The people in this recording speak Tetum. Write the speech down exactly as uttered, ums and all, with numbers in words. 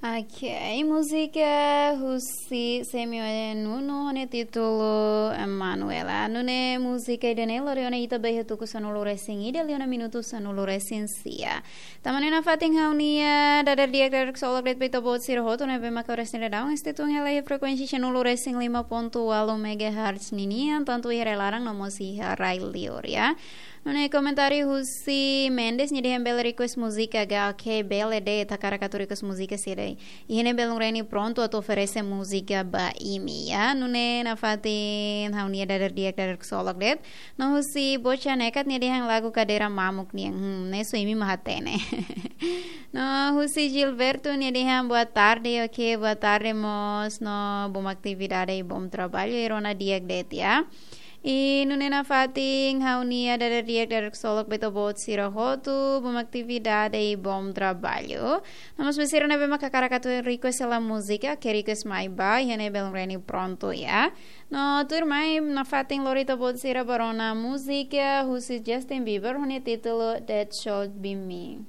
Ok, múzika husi Semi Nuno ho nia títulu Emanuela. Nune'e múzika ida-ne'e lori ona ita ba iha tuku sanulu-resin-ida liu ona minutu sanulu-resin-sia. Tanba ne'e nafatin ha'u-nia dadeer di'ak dadeer ksolok de'it ba ita-boot sira hotu ne'ebé maka oras ne'e daudaun estetun hela iha frekuénsia sanulu-resin-lima pontu ualu megahertz ninian, tantu iha rai-laran no mós iha rai-liur, ya. Nune'e komentáriu husi Mendes, nia dehan bele request múzika ka, ok, bele de'it, hakarak atu request múzika sira. Iha ne'e belun Reni prontu atu oferese múzika ba imi, ya. Nune'e nafatin ha'u-nia dadeer di'ak dadeer ksolok de'it. No husi Bocha Nekat, nia dehan lagu Kadeira Mamuk nian. Hmm, ne'e só imi mak hatene. No husi Gilberto, nia dehan boa tarde, ok, boa tarde mós, no bom atividade i bom trabalho, i rona di'ak de'it, ya. I nune'e nafatin ha'u-nia dadeer di'ak dadeer ksolok ba ita-boot sira hotu, bom atividade i bom trabalho. No mós ba sira ne'ebé maka hakarak atu request hela múzika, ke request mai ba iha ne'e belun Reni prontu, ya. No tuirmai nafatin lori ita-boot sira ba rona múzika husi Justin Bieber ho nia títulu That Should Be Me.